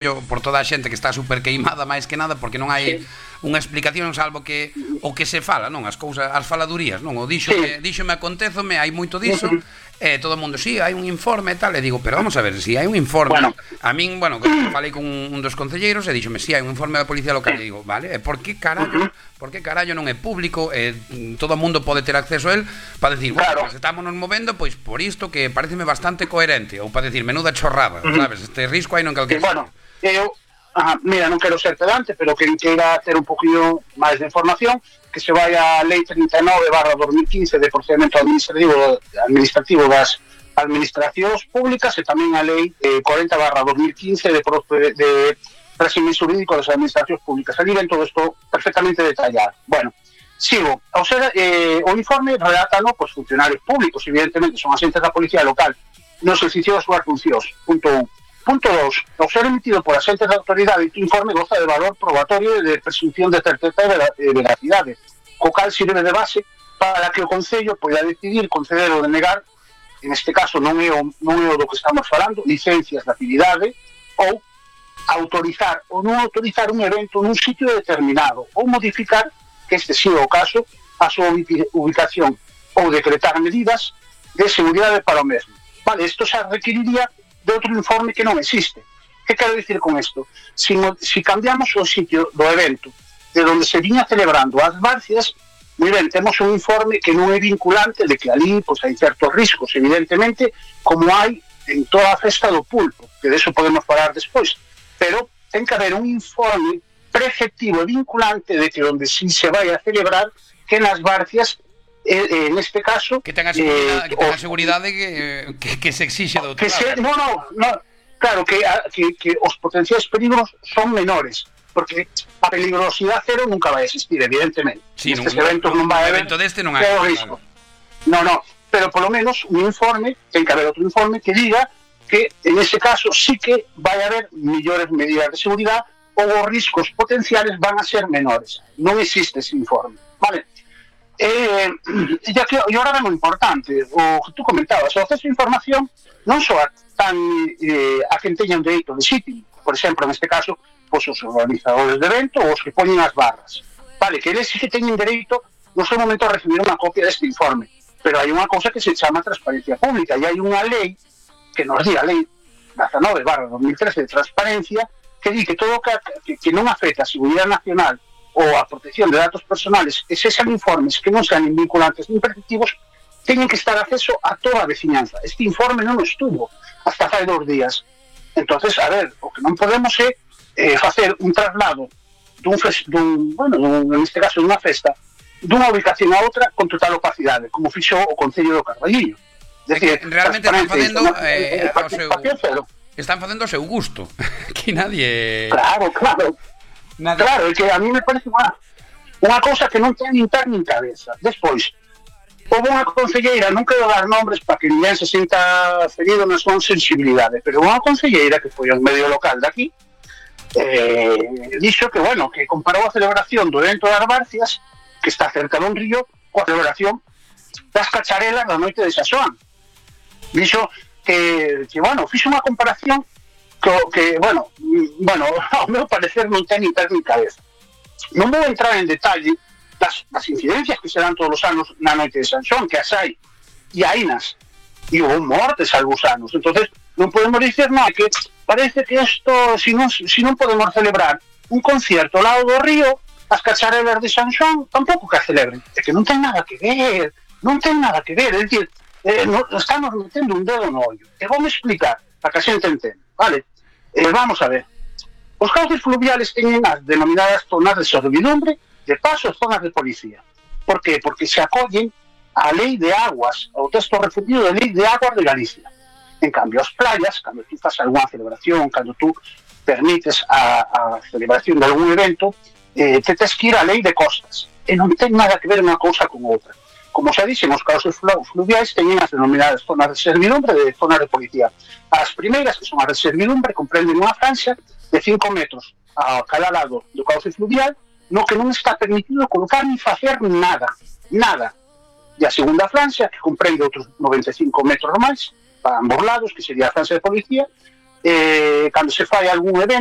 por toda a xente que está super queimada máis que nada porque non hai unha explicación salvo que o que se fala, non, as cousas, as faladurías, non, o díxome acontézome, hai moito diso, todo o mundo, si, hai un informe e tal, e digo, pero vamos a ver, si hai un informe, a min, falei con un dos concelleiros e díxome, si, hai un informe da Policía Local, e digo, vale, e por que carallo non é público, todo o mundo pode ter acceso a él, para decir, bueno, pues estamos nos movendo, pois por isto que pareceme bastante coherente, ou para decir, menuda chorrada, sabes, este risco hai non calquer. Mira, non quero ser pedante, pero quen queira ter un poquinho máis de información, que se vai a Lei 39/2015 de procedimento administrativo das administracións públicas e tamén a Lei 40/2015 de régimen jurídico das administracións públicas. Ali ven todo isto perfectamente detallado. Bueno, sigo. O sea, o informe relátano pues, funcionarios públicos, evidentemente, son agentes da Policía Local no exercicio das súas funcións. Punto 1. Punto 2. Ao ser emitido por agentes de autoridade, este informe goza de valor probatorio e de presunción de certeza e veracidade, co cal sirve de base para que o Concello poida decidir conceder ou denegar, en este caso non é o do que estamos falando, licencias de actividade, ou autorizar ou non autorizar un evento nun sitio determinado, ou modificar, que este sea o caso, a súa ubicación, ou decretar medidas de seguridade para o mesmo. Vale, isto xa requeriría de outro informe que non existe. Que quero dicir con isto? Si cambiamos o sitio do evento de onde se viña celebrando as barcias, moi ben, temos un informe que non é vinculante de que ali pues, hai certos riscos, evidentemente, como hai en toda a festa do pulpo, que de eso podemos falar despois, pero ten que haber un informe preceptivo e vinculante de que onde si se vai a celebrar que nas barcias en este caso que tenga seguridade que se exixe do outro lado. Claro, que os potenciais peligros son menores, porque a peligrosidade cero nunca vai existir, evidentemente. Nestes eventos non vai haber risco. No, pero polo menos un informe, ten que haber outro informe que diga que en ese caso sí que vai haber millores medidas de seguridade ou os riscos potenciales van a ser menores. Non existe ese informe, vale? E ahora é moi importante o que tú comentabas, o acceso a información non só tan a quen teña un dereito legítimo, por exemplo, neste caso pues, os organizadores de evento ou os que poñen as barras, vale, que eles sí que teñen dereito no seu momento a recibir unha copia deste informe, pero hai unha cousa que se chama transparencia pública e hai unha lei que nos di a lei 19/2013 de transparencia que di que todo que non afecta a seguridade nacional ou a protección de datos personales, e se sean informes que non sean vinculantes ni preceptivos, teñen que estar acceso a toda a veciñanza. Este informe non estuvo hasta fai 2 días. Entonces, a ver, o que non podemos é facer un traslado en este caso dunha festa, dunha ubicación a outra con total opacidade, como fixo o Concello do Carballiño. Realmente están facendo o seu gusto. Que nadie... Claro, é que a mí me parece unha cousa que non ten nin pé nin cabeza. Despois, houve unha concelleira, non quero dar nombres para que ninguén se sinta ferido na súa sensibilidade, pero unha concelleira que foi un medio local daqui dixo que, bueno, que comparou a celebración do evento das Barcias, que está cerca dun río, coa celebración das cacharelas da noite de San Xoán. Dixo que bueno, fixo unha comparación que, bueno, ao meu parecer non ten ni pé ni cabeza. Non vou entrar en detalle das incidencias que se dan todos os anos na noite de San Xoán, que as hai, e hainas, e houve mortes algúns anos. Entonces non podemos dicer nada, que parece que isto, si non podemos celebrar un concierto ao lado do río, as cacharelas de San Xoán tampouco que a celebren. É que non ten nada que ver, é dicir, estamos metendo un dedo no ollo. E vou me explicar, para que a xente entenda, vale? Vamos a ver. Os cauces fluviales teñen as denominadas zonas de servidumbre, de paso zonas de policía. Por qué? Porque se acollen a lei de aguas, ao texto refundido de lei de aguas de Galicia. En cambio, as playas, cando tú faz algunha celebración, cando tú permites a celebración de algún evento, te tes que ir a lei de costas. E non ten nada que ver unha cousa con outra. Como xa dixen, os cauces fluviais teñen as denominadas zonas de servidumbre e zonas de policía. As primeiras, que son as de servidumbre, comprenden unha franxa de 5 metros a cada lado do cauce fluvial, no que non está permitido colocar ni facer nada. E a segunda franxa, que comprende outros 95 metros máis, para ambos lados, que sería a franxa de policía, cando se fai algún evento,